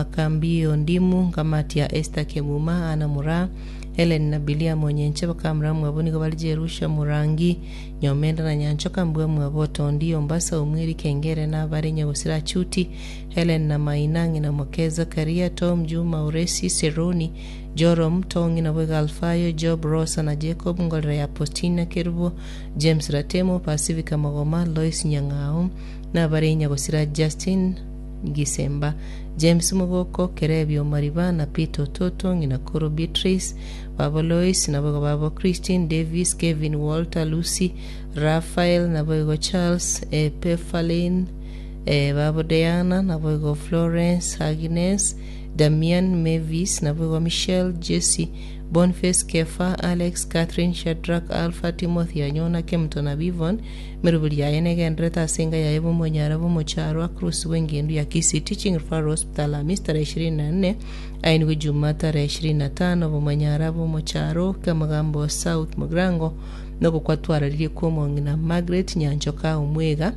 Makambio, Ndimu, Nkamati ya Esther Kemuma, Anna Muraa, Helen na Bilia Monyenche bakamura mwabo nigo bare Jerusha Murangi, Nyomenda na Nyanchoka mbwa mwabo Otondi, Ombasa, Omweri, Kengere na abare Nyagosira Achuti, Helen na Maina, ng'ina moke Zakaria, Tom, Juma, Uresi, Seroni, Jorom, Tong'i naboigo Alfayo, Job, Rosa na Jacob, Ngorera ya Postina, Kerubo, James Ratemo, Pacifica Magoma, Lois Nyang'ao, na abare Nyagosira Justin, Gisemba, James Mogoko, Kerebio Omariba, na Peter Ototo, ng'ina koro Beatrice, babo Lois, naboigo babo Christine, Davis, Kevin, Walter, Lucy, Raphael, naboigo Charles, Epephaline, babo Diana, naboigo Florence, Agnes, Damian, Mavis, naboigo Michelle, Jesse, Boniface, Kefa, Alex, Catherine, Shadrack, Alpha, Timothy, Anyona, Kemuto na Bivon, Emeroberi yaye negendererete ase enka yaye bw'omonyara bw'omocharo Across bw'engendu ya Kisii Teaching Referral Hospital Alhamisi tarehe 24 ainigwe Juma tarehe 25 bw'omonyara bw'omocharo Kemagambo South Mugirango nogokwa twararirie kw'omong'ina Margaret Nyanchoka Omwega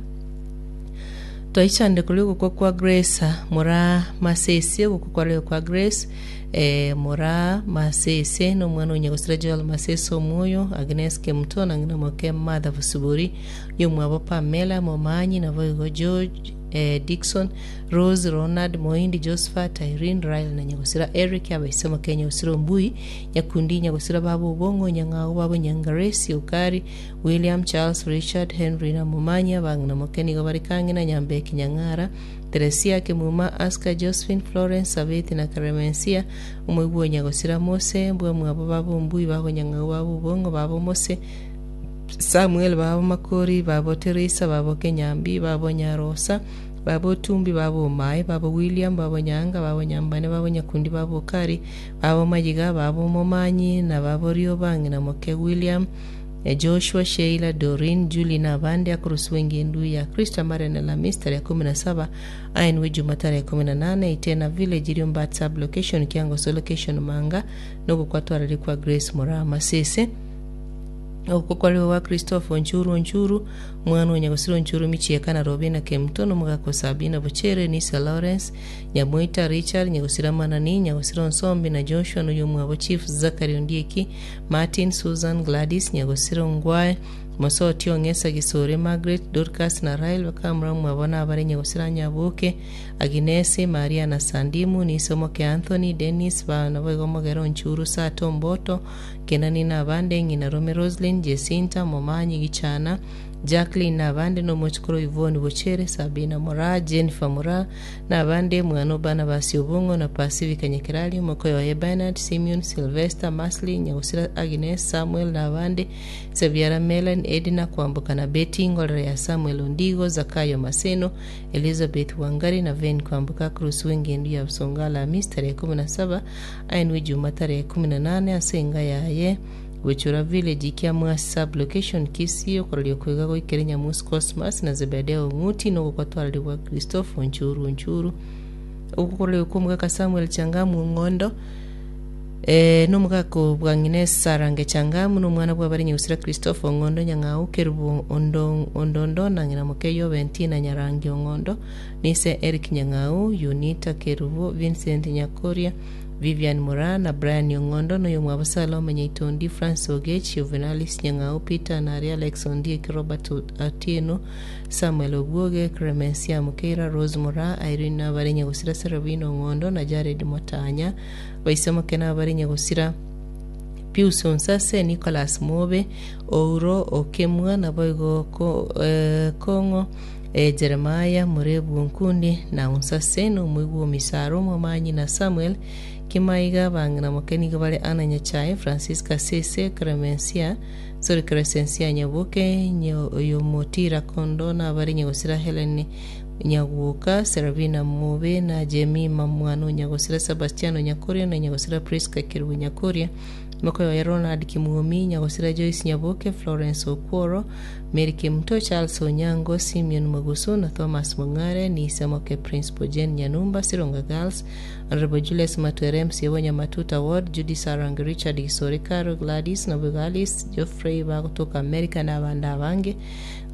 Twaichande koria ogokwa kwa Grace Moraa Masese ogokwa kwarenge kwa Grace eh, Moraa Masese nomwana o Nyagosira Joel Masese Omwoyo, Agnes Kemuto na ng'ina moke Martha Bosibori, oyomwabo Pamela Momanyi naboigo George eh, Dickson, Rose, Ronald, Moindi, Josephat, Irene, Rael na Nyagosira Eric, abaise moke Nyagosira Ombui, Nyakundi, Nyagosira babo Obong'o, Nyang'au babo Nyangaresi, Okari, William, Charles, Richard, Henry na Momanyi, abang'ina moke nigo bare Kang'ina, Nyambeki, Nyang'ara, Teresia, Kemuma, Aska, Josephine, Florence, Sabeti na Clemencia, omoigwa o nyagosira Mose, mbwamwabo babo Ombui, babo Nyang'au, babo Obong'o, babo Mose, Samuel, babo Makori, babo Teresa, babo Kenyambi, babo Nyarosa, babo Otumbi, babo Omae, babo William, babo Nyanga, babo Nyambane, babo Nyakundi, babo Okari, babo Mayiga, babo Momanyi, na babo Rioba, ng'ina moke William, Joshua, Sheila, Doreen, Julie na abande akorosigwa engendu ya Kristo amarene Alhamisi tarehe 17 aenwe Juma tarehe 18 Itena Village Riombat Sub Location Kiangoso Location Manga nogokwa twarari kwa Grace Moraa Masese Ogokwa kwarigwe gwa Christopher Onchuru Onchuru omwana o Nyagosira Onchuru Michieka na Robina Kemuto na omogaka o Sabina Bochere Nisa Lawrence Nyamoita Richard Nyagosira Manani Nyagosira Onsombi na Joshua na oyomwabo Chief Zachary Ondieki Martin, Susan, Gladys, Nyagosira Ongwae, Mosoti Ong'esa Gisore, Margaret, Dorcas na Rael bakamura mwabo nabare Nyagosira Nyaboke, Aginesi, Maria na Sandimu, Niso moke Anthony, Dennis, ba naboigo Mogere Onchuru, Sato Omboto, Kenani na abande, Ng'ina Rome Roselyn, Jesinta, Momanyi Gichana, Jacqueline na abande, na omochokoro Yvonne Bochere, Sabina Moraa, Jennifer Moraa, na abande, Omwana o Barnabasi Obong'o, na Pasifika Nyakerari, omokoyo oye Bernard, Simeon, Sylvester, Masley, Nyagosira Agnes, Samuel, na abande, Sebiara Melen, Edna, Kwamboka na Betty, Ngorere ya Samuel Ondigo, Zakayo Maseno, Elizabeth Wangari, na Vane Kwamboka, Cruz w'engendu ya Busonga Alhamisi tarehe 17, aenwe Juma tarehe 18 ase enga yaye Gochora Village, Kiamwasi Sub-location, Kisii, okororia okoiga goikera Nyamusi Cosmas na Zebedeo Ong'uti, na ogokwa Christopher Onchuru Onchuru, okororia kw'omogaka Samuel Changamu Ong'ondo, eh, na omogaka o bwang'ina Sarange Changamu, na omwana bw'abare Nyagusira Christopher Ong'ondo Nyang'au, Kerubo Ondo Ondondo, na ng'ina moke Yobentina Nyarangi Ong'ondo, na ise Eric Nyang'au, Yunita Kerubo, Vincent Nyakoria, Vivian Moraa na Brian Ong'ondo, na oyomwabo Salome Nyaitondi, Francis Ogech, Juvenalis Nyang'au, Peter Naria, Alex Ondieki, Robert Otieno, Samuel Obwoge, Clemencia Mukeira, Rose Moraa, Irene nabare Nyagosira Serabina Ong'ondo na Jared Motanya, Baisemoke nabare Nyagosira Pius Onsase, Nicholas Mobe, Ouro Okemwa, naboigo Kong'o Jeremiah, Morebu Onkundi, na Onsase, na omoigwa o Misaro, Omomanyi, na Samuel Kimaiga, abang'ina moke nigo bare Anna Nyachae, Francisca Sese, Clemencia, sorry, Crescencia Nyaboke, Oyomotira Kondo, na abare Nyagosira Helen Nyagwoka, Serabina Mobe, na Jemima mwana o Nyagosira Sebastiano Nyakoria, na Nyagosira Prisca Kerubo Nyakoria, mokoyo oye Ronald Kimwomi, Nyagosira Joyce Nyaboke, Florence Okworo, Mary Kemunto, Charles Onyango, Simeon Mugusu na Thomas Mong'are, Nise Moke Principal Jane Nyanumba, Sironga Girls, Honourable Julius Matwere MC Bonyamatuta Ward, Judy Sarange, Richard Gisore Caro, Gladys Naboigo Alice, Geoffrey bagotoka America na abande abange.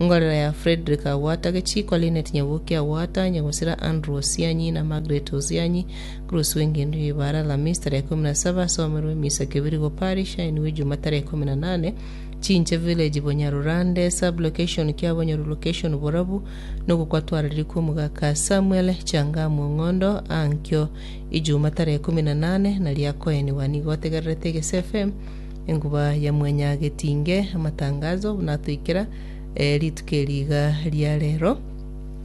Ngorera ya Fredrick Agwata Gechikwa, Linet Nyaboke Agwata, Nyagosira Andrew Osianyi na Margaret Osianyi, Bruce Wengendo Ibara Alhamisi tarehe 17 asomerwe emisa Kebirigo Parish ainwe Ijuma tarehe 18 Chinche Village Bonyarurande Sub Location Kiabonyoru Location Borabu nogokwatwarariri kw'omogaka Samuel Changamu Ong'ondo ankio Ijuma tarehe 18 naria akoenigwa nigo otegererete Egese FM enguba ya Mwanyagetinge amatangazo buna atoikera eh, rituko eri iga ria rero.